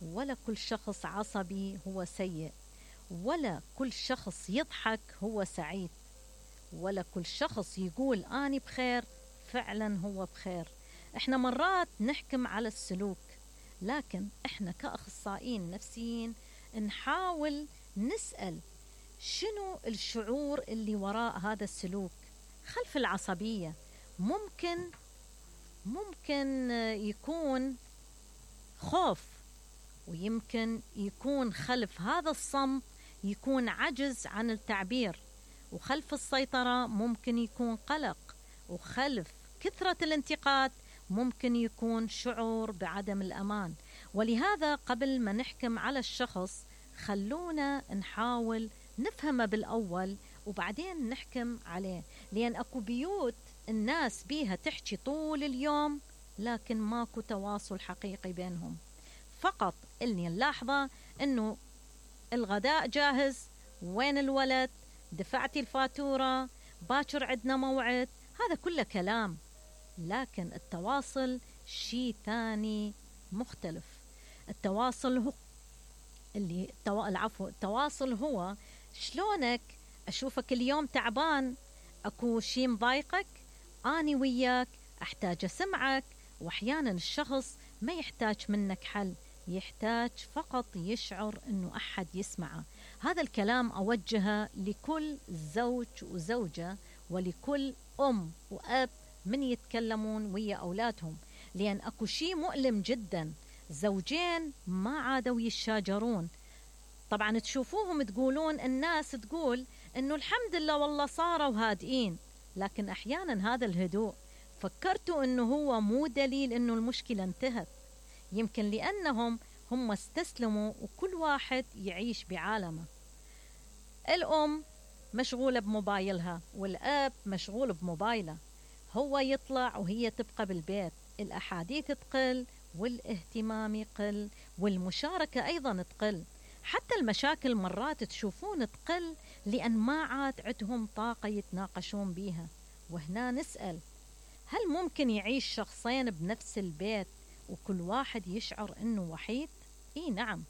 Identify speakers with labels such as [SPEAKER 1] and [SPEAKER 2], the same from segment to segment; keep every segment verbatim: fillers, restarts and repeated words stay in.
[SPEAKER 1] ولا كل شخص عصبي هو سيء، ولا كل شخص يضحك هو سعيد، ولا كل شخص يقول أني بخير فعلا هو بخير. احنا مرات نحكم على السلوك، لكن احنا كأخصائيين نفسيين نحاول نسأل شنو الشعور اللي وراء هذا السلوك خلف العصبية. ممكن ممكن يكون خوف، ويمكن يكون خلف هذا الصمت يكون عجز عن التعبير، وخلف السيطرة ممكن يكون قلق، وخلف كثرة الانتقاد ممكن يكون شعور بعدم الأمان. ولهذا قبل ما نحكم على الشخص خلونا نحاول نفهمه بالأول وبعدين نحكم عليه، لأن أكو بيوت الناس بيها تحكي طول اليوم لكن ماكو تواصل حقيقي بينهم. فقط اللي نلاحظه أنه الغداء جاهز، وين الولد، دفعتي الفاتورة، باكر عندنا موعد، هذا كله كلام، لكن التواصل شيء ثاني مختلف. التواصل هو اللي التوا... العفو التواصل هو شلونك أشوفك اليوم تعبان، أكو شيء مضايقك، أني وياك أحتاج أسمعك. وأحيانا الشخص ما يحتاج منك حل، يحتاج فقط يشعر أنه أحد يسمعه. هذا الكلام أوجهه لكل زوج وزوجة ولكل أم وأب من يتكلمون ويا أولادهم، لأن أكو شيء مؤلم جدا، زوجين ما عادوا يشاجرون. طبعا تشوفوهم تقولون، الناس تقول أنه الحمد لله والله صاروا هادئين، لكن أحيانا هذا الهدوء فكرتوا أنه هو مو دليل أنه المشكلة انتهت، يمكن لأنهم هم استسلموا وكل واحد يعيش بعالمه. الأم مشغولة بموبايلها والأب مشغول بموبايله، هو يطلع وهي تبقى بالبيت، الأحاديث تقل والاهتمام يقل والمشاركة أيضا تقل، حتى المشاكل مرات تشوفون تقل لأن ما عاد عندهم طاقة يتناقشون بيها. وهنا نسأل، هل ممكن يعيش شخصين بنفس البيت وكل واحد يشعر أنه وحيد؟ إيه نعم،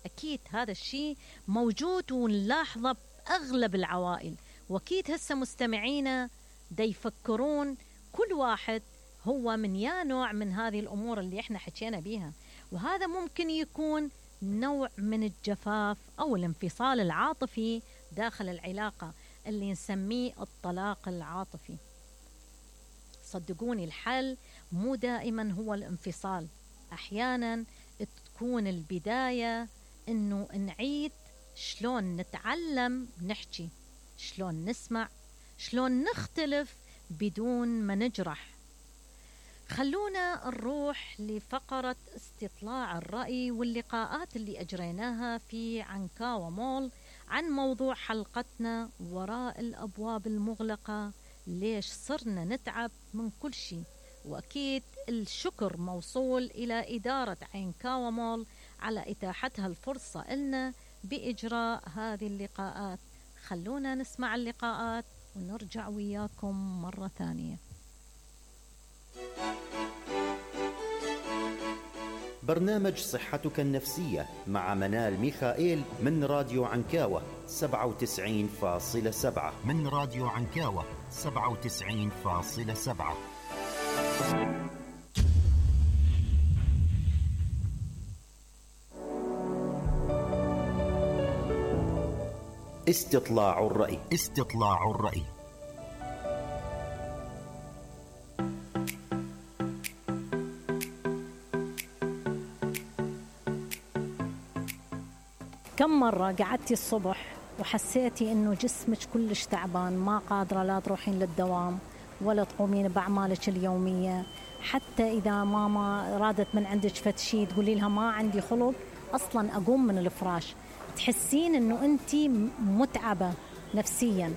[SPEAKER 1] أكيد هذا الشيء موجود ونلاحظه بأغلب العوائل، وأكيد هسه مستمعينا دا يفكرون كل واحد هو من يا نوع من هذه الأمور اللي احنا حكينا بيها. وهذا ممكن يكون نوع من الجفاف أو الانفصال العاطفي داخل العلاقة اللي نسميه الطلاق العاطفي. صدقوني الحل مو دائما هو الانفصال، أحيانا تكون البداية إنه نعيد شلون نتعلم نحكي، شلون نسمع، شلون نختلف بدون ما نجرح. خلونا نروح لفقرة استطلاع الرأي واللقاءات اللي أجريناها في عنكاوة مول عن موضوع حلقتنا وراء الأبواب المغلقة، ليش صرنا نتعب من كل شيء. وأكيد الشكر موصول إلى إدارة عنكاوة مول على إتاحتها الفرصة لنا بإجراء هذه اللقاءات. خلونا نسمع اللقاءات ونرجع وياكم مرة ثانية.
[SPEAKER 2] برنامج صحتك النفسية مع منال ميخائيل من راديو عنكاوة سبعة وتسعين فاصلة سبعة من راديو عنكاوة سبعة وتسعين فاصلة سبعة. استطلاع الرأي. استطلاع الرأي.
[SPEAKER 1] كم مرة قعدتي الصبح وحسيتي إنه جسمك كلش تعبان، ما قادرة لا تروحين للدوام ولا تقومين بأعمالك اليومية، حتى إذا ماما رادت من عندك فتشي تقولي لها ما عندي خلق أصلا أقوم من الفراش، تحسين إنه أنتي متعبة نفسيا،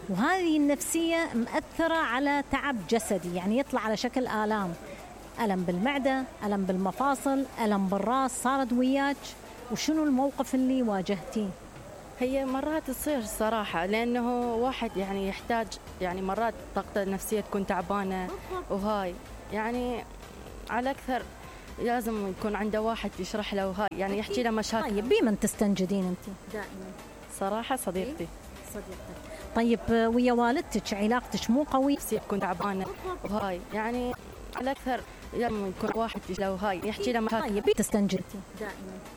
[SPEAKER 1] وهذه النفسية مأثرة على تعب جسدي، يعني يطلع على شكل آلام، ألم بالمعدة، ألم بالمفاصل، ألم بالرأس. صارت وياك وشنو الموقف اللي واجهتيه؟
[SPEAKER 3] هي مرات تصير صراحة، لأنه واحد يعني يحتاج، يعني مرات طاقته النفسية تكون تعبانة، وهاي يعني على أكثر لازم يكون عنده واحد يشرح له هاي، يعني يحكي له مشاكل.
[SPEAKER 1] طيب بمن تستنجدين انت دائما؟
[SPEAKER 3] صراحة صديقتي.
[SPEAKER 1] صديقتك. طيب ويا والدتك علاقتك مو قوية؟
[SPEAKER 3] تكون تعبانة وهاي يعني على أكثر لازم يكون واحد له هاي يحكي له مشاكل.
[SPEAKER 1] طيب تستنجدي دائما؟